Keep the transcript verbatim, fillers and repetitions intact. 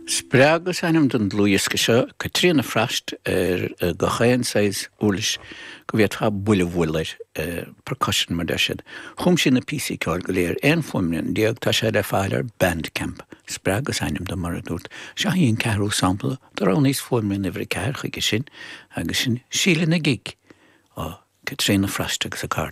Spreag is ainm don dlúthdhiosca seo Caitríona Frost ar gach aon saghas uirlis go bhféadfá buille a bhualadh air percussion mar deir siad. Chum sí na píosaí ceoil go léir aon fuaimrian déag tá sé le fáil ar Bandcamp. Spreag is ainm dó mar a dúirt. Seo í an ceathrú sampla do roghnaíos fuaimrian uimhir a ceathair chuige sin agus sin Síle na Gig ó Caitríona Frost agus a cairde.